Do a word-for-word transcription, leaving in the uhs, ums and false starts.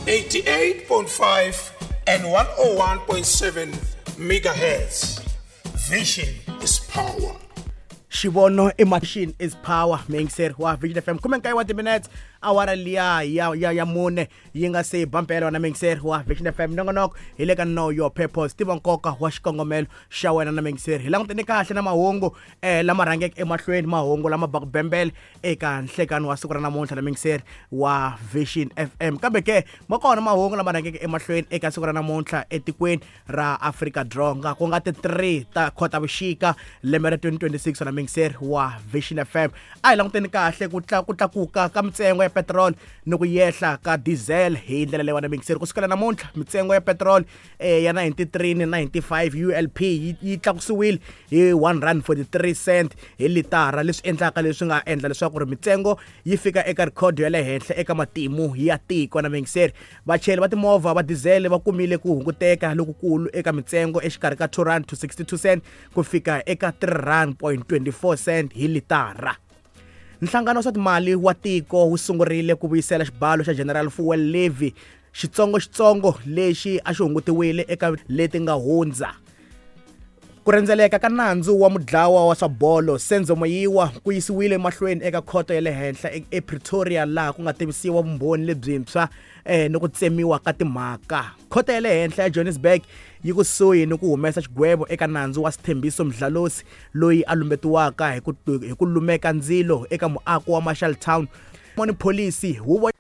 eighty-eight point five and one oh one point seven megahertz. Vision is power. Xivono i machine is power. Mixer wa Vision F M khume nkaye wa timinutes awara liya ya ya ya mune yi nga se bampela na Mixer wa Vision F M. Nongonoko hi le ka Know Your Purpose, tiva nkoka wa xikongomelo xa wena na Mixer. Hi langutene kahle na mahungu eh lama rhangeke emahlweni, mahungu lama baka bembele eka nhlekani wa siku ra namuntlha na Mixer wa Vision F M. Kambe ke ma kona mahungu lama rhangeke emahlweni eka siku ra namuntlha etikweni ra Afrika Dzonga, ku nga ti three ta Khotavuxika lembe ra twenty twenty-six na Mixer wa Vision F M. A hi languteni kahle ku tla ku tlakuka ka mintsengo ya petrol ni ku yehla ka diesel hi ndlela leyi wena Mixer. Kusukela namuntlha mintsengo ya petrol eh, ya ninety-three ni ninety-five U L P yi, yi tlakusiwile hi one rand forty-three cent hi litara, leswi endlaka leswi nga endla leswaku ri mintsengo yi fika eka record ya le henhla eka matimu ya tiko na Mixer. Vachayeri va timovha va diesel va kumile ku hunguteka lokukulu eka mintsengo exikarhi ka two rand to sixty-two cent ku fika eka three rand point twenty-four cent hi litara. Nhlangano wa swa timali wa tiko wu sungurile ku vuyisela xibalo xa General Fuel Levy xitsongoxitsongo lexi a xi hungutiwile eka leti nga hundza. Ku rhendzeleka ka nandzu wa mudlawa wa swa bolo Senzo Meyiwa ku yisiwile emahlweni eka khoto ya le henhla ePretoria, laha ku nga tivisiwa vumbhoni lebyintshwa eh ni ku tsemiwa ka timhaka. Khoto ya le henhla ya Johannesburg yi kusuhi ni ku humesa xigwevo eka nandzu wa Sithembiso Mdlalose loyi a lumbetiwaka hi ku hi ku lumeka ndzilo eka muako wa Marshalltown. Money Policy huvo